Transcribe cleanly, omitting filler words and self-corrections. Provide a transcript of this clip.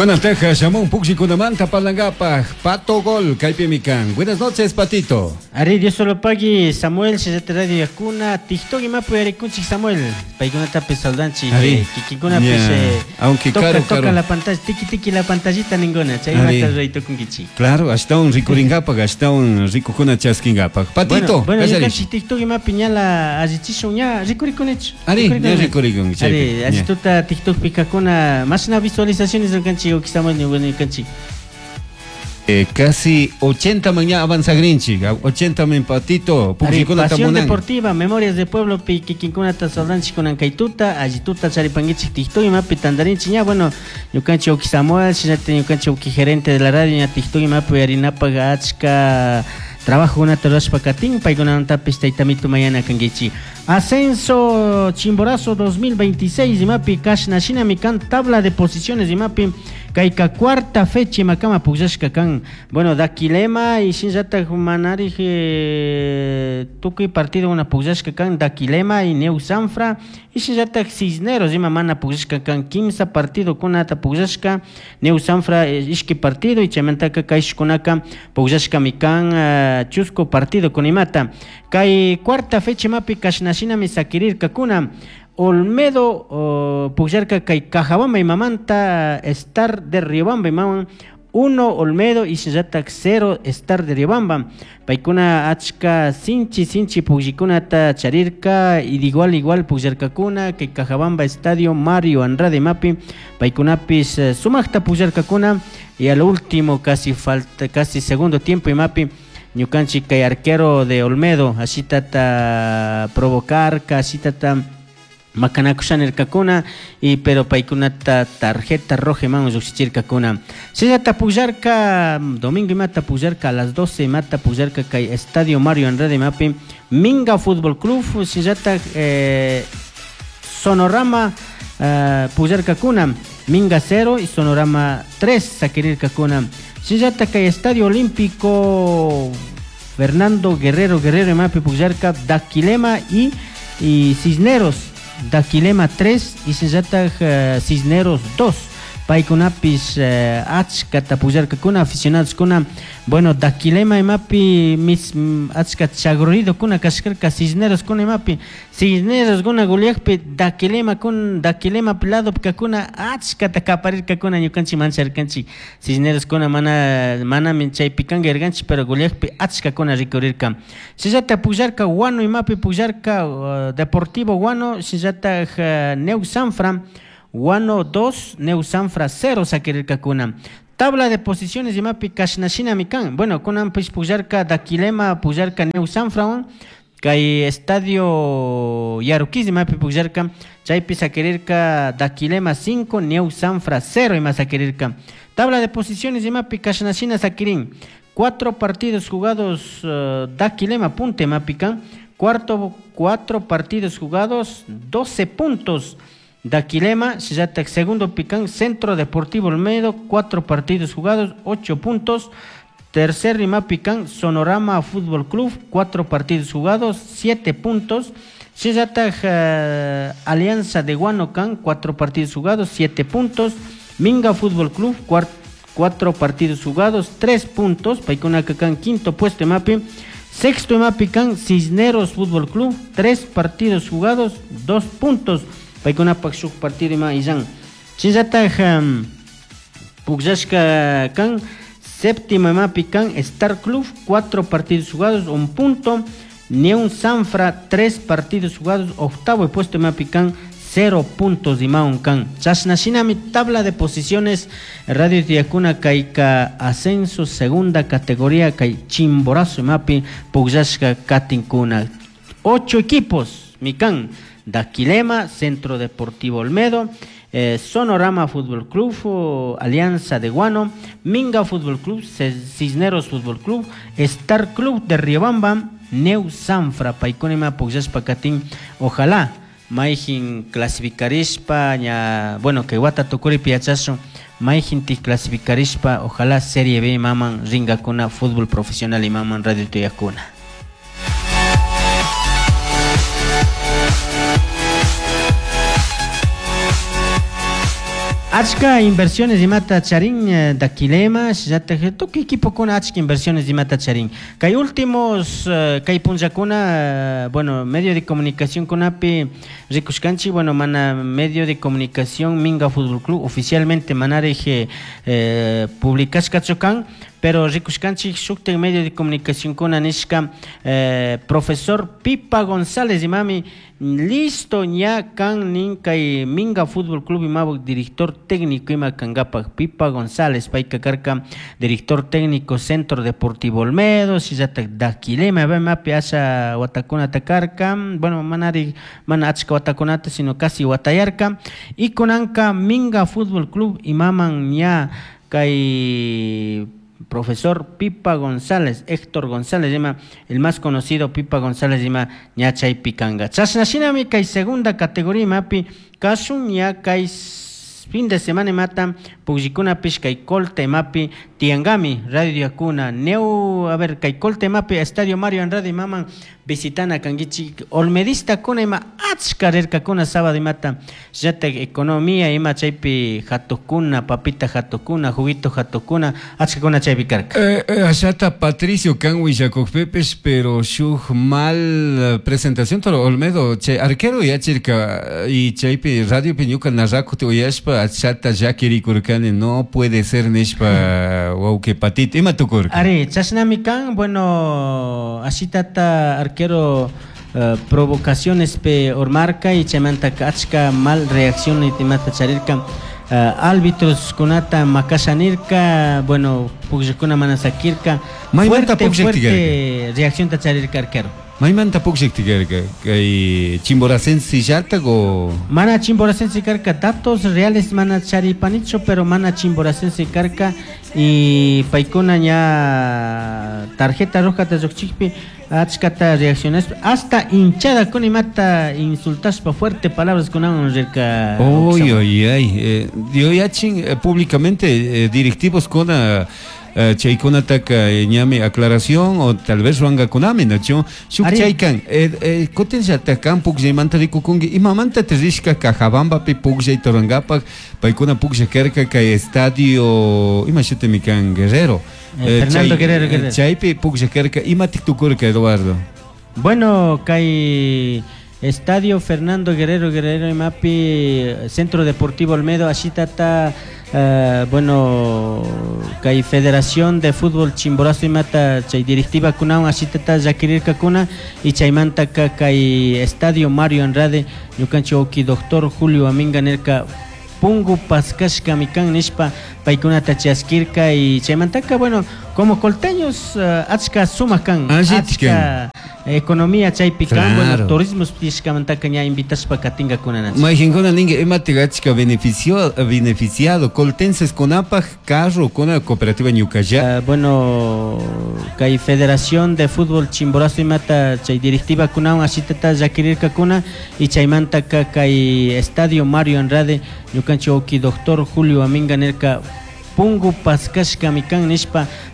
Kunantaqa shamun pukllikunamantan parlangapaj Pato Gol kaypimi kan. Buenas noches, Patito. Ari, Dios solo pagui, Samuel, Shillata Radio Yakuna, TikTok imapi uyarikunchik Samuel. Paykunatapis saludanchik. Ari. Kikinkunapis Ña, aunque toca, caro, toca caro. la pantalla, tiki tiki la pantallita ninguna, Ari. chaymanta ruray tukunkichik. Claro, ashtawan rikuringapaj, ashtawan rikukuna chaskingapak. Patito, Bueno, bueno, kallarish. ñukanchik TikTok imapi ñala allichishun ña rikurikunichu. Ari, ña rikurikun, chaypi, Ari, ña. allituta TikTokpi kakuna, mashna visualizaciones ñukanchik uki Samuel ñukanchik. Casi 80 man ña avanzagrinchik, 80 man Patito, Ari, pukllikunata Pasión munan. Deportiva, Memorias de Pueblo, pi kikinkunata saludanchik kunan kaytuta, allituta charipankichik TikTok imapi tantarinchik ña, bueno, ñukanchik uki Samuel, shinallata ñukanchik uki gerente de la radio ña TikTok imapi uyarinapaq achka trabajokunata rurashpa katin, paykunamantapis taytamitu mañana kankichik. Ascenso Chimborazo 2026 imapi kashna shinami kan tabla de posiciones imapi kayka cuarta fecha imakama pukllashka kan. Bueno, Daquilema y shinllatak manarij tukuy partido una pukllashka kan Daquilema y Neu Sanfra y shinllatak Cisneros ima mana pukllashka kan kimsa partido kunata pukllashka Neu Sanfra ishki partido y chaymantaka kayshkunaka pukllashkami kan chusku partido kunimata. Kay cuarta fecha imapi kashna shinami sakirirkakuna. Olmedo, oh, pukllarka kay Cajabamba imamanta Star de Riobamba imaman 1 Olmedo y shinllatak 0 Star de Riobamba. Paykuna achka sinchi sinchi pukllikunata charirka y de igual igual pukllarkakuna kay Cajabamba Estadio Mario Andrade imapi paykunapis sumakta pukllarkakuna y al último casi falta casi segundo tiempo imapi ñukanchik kay arquero de Olmedo así tata provocar así tata makanakushanirkakuna y pero paykunata tarjeta roja iman llukshichirkakuna. Shinallata pukllarka domingo imata pukllarka a las 12 imata pukllarka kay Estadio Mario Andrade imapi Minga Fútbol Club shinallata Sonorama pukllarkakuna Minga 0 y Sonorama 3 sakirirkakuna. Shinallata kay Estadio Olímpico Fernando Guerrero Guerrero imapi pukllarka Daquilema y Cisneros. Daquilema 3 y shinllatak Cisneros 2. Paykunapis achkata pukllarkakuna aficionadoskuna. Bueno, Daquilema imapi mis, achka chagruridokuna kashkarka Cisneroskuna imapi. Cisneroskuna goleakpi Daquilema kun Daquilema lado kakuna achkata kaparirkakuna ñukanchik mancharkanchik. Cisneroskuna mana chaypi kanka yarkanchik, pero goleakpi achkakuna rikurirka. Shinllata pukllarka Guano imapi pukllarka Deportivo Guano, shinllatak Neu Sanfra Guano 2, Neu Sanfra 0 sakirirkakuna. Tabla de posiciones imapi kashna shinami kan. Bueno, kunan pis pukllarka Daquilema, pukllarka Neu Sanfra, kay Estadio Yaruquis imapi pukllarka, chaypi sakirirka Daquilema 5, Neu Sanfra 0 ima sakirirka. Tabla de posiciones imapi kashna shina sakirin. 4 partidos jugados Daquilema punta imapi kan. 4 partidos jugados, 12 puntos. Daquilema, shinllatak segundo pican, Centro Deportivo Olmedo, 4 partidos jugados, 8 puntos. Tercer Rimapican, Sonorama Fútbol Club, 4 partidos jugados, 7 puntos. Shinllatak Alianza de Guanocan, 4 partidos jugados, 7 puntos. Minga Fútbol Club, 4 partidos jugados, 3 puntos. Paykunakan, quinto puesto imapi. Sexto imapican, Cisneros Fútbol Club, 3 partidos jugados, 2 puntos. Paykunapak shuk partido ima illan. Shinllatak pukllashka kan, séptimo imapi kan, Star Club, 4 partidos jugados, 1 punto. Neun Sanfra, 3 partidos jugados, octavo puesto imapi kan, 0 puntos imaun kan. Chashna shinami tabla de posiciones, Radio Tiacuna kayka ascenso segunda categoría kay Chimborazo imapi pukllashka katinkuna. 8 equipos mikan. Daquilema, Centro Deportivo Olmedo, Sonorama Fútbol Club, Alianza de Guano, Minga Fútbol Club, Cisneros Fútbol Club, Star Club de Riobamba, Neu Sanfra, Paykunima pukllashpa katin. Ojalá mayjin clasificarishpa, ña, bueno, que wata tukuripi yachashun, mayjin ti clasificarishpa, ojalá Serie B imaman ringakuna fútbol profesional imaman Radio Tuyakuna. Achka inversiones imata charin Daquilema, shinallatak tukuy equipokuna achka inversiones imata charin. Kay últimos kay punllakuna, bueno, medio de comunicación kunapi rikushkanchik, bueno, mana medio de comunicación Minga Fútbol Club oficialmente manarij publicashkachu kan, pero rikushkanchik shuktak medio de comunicación kuna nishka profesor Pipa González imami listo ña kan nin kay Minga Fútbol Club imabuk director técnico ima kankapak. Pipa González payka karka director técnico Centro Deportivo Olmedo, shinallatak Daquilema imapi asha watakunata karka, bueno, manari mana achka watakunata sino casi watayarka, y kunanka Minga Fútbol Club imaman ña kay profesor Pipa González, Héctor González ima, el más conocido Pipa González ima ña chaypi kanka. Chashna shinami kay segunda categoría imapi kashun ña kay fin de semana imata pukllikunapish kay Colta imapi tiyankami radio yakuna neu, a ver, kay Colta imapi Estadio Mario Andrade imaman visitana kankichik. Olmedista kuna ima achka rirkakuna sábado imata, shinallatak economía ima chaypi hatukuna, papita hatukuna, juguito hatukuna, achkakuna chaypi karka. Ashata Patricio kan willakukpipish, pero shuk mal presentación toro Olmedo chay arquero yachirka y chaypi radiopi ñuka narrakuti uyashpa achata llakirikurkani, no puede ser nishpa, wawki Patito, ima tukurka? Ari, chashnami kan, bueno, ashitata arquero provocaciones pe urmarka y chaymanta achka mal reacción imata charirka, árbitros kunata makasha nirka, bueno, pukllakuna mana sakirka. Maymanta fuerte, pukllakti fuerte reacción ta charirka arquero. Maymanta pukllakti karka? Kay Chimboracense llatak o? Mana Chimboracense karka, datos reales mana charipanichu, pero mana Chimboracense karka y paykuna ña tarjeta roja ta lluqchikpi achkata reaccionaspa hasta hinchada kuna imata insultaspa fuerte palabras kunawan rirka. Oy, oy, ay, yachin públicamente directivos kuna chaykunataka ñami aclaración o tal vez ruwankakunami, nachu shuk Ari. chaykan kutin llata kan pukllaymanta rikukunki imamanta rishka Cajabambapi pukllayta rurankapak paykuna puklla karka kay estadio ima shutimi kan Guerrero. Fernando Guerrero Guerrero. Chaypi puklla karka, imatik tukurka, Eduardo? Bueno, kay Estadio Fernando Guerrero Guerrero imapi Centro Deportivo Olmedo ashitata bueno, kay Federación de Fútbol Chimborazo imata chay directiva kunawan ashitata llakirirkakuna y chaymanta kay Estadio Mario Andrade ñukanchik wawki doctor Julio Aminga nirka pungu paskashkami kan nishpa paykunata chaskirka y chaymantaka, bueno, como colteños achka sumak kan, Allitik achka economía chaypi kan, bueno, turismo tishkamantaka ña invitashpa katinkakuna nacha. Mayqinkuna ninki imatik achka beneficio, beneficiado coltenses kunapaj carro kuna cooperativa ñukalla. Bueno, kay Federación de Fútbol Chimborazo imata chay directiva kunawan ashitata llakirirkakuna y chaymanta kay Estadio Mario Andrade ñukanchik wawki doctor Julio Aminga nirka pungu paskashkami kan nishpa.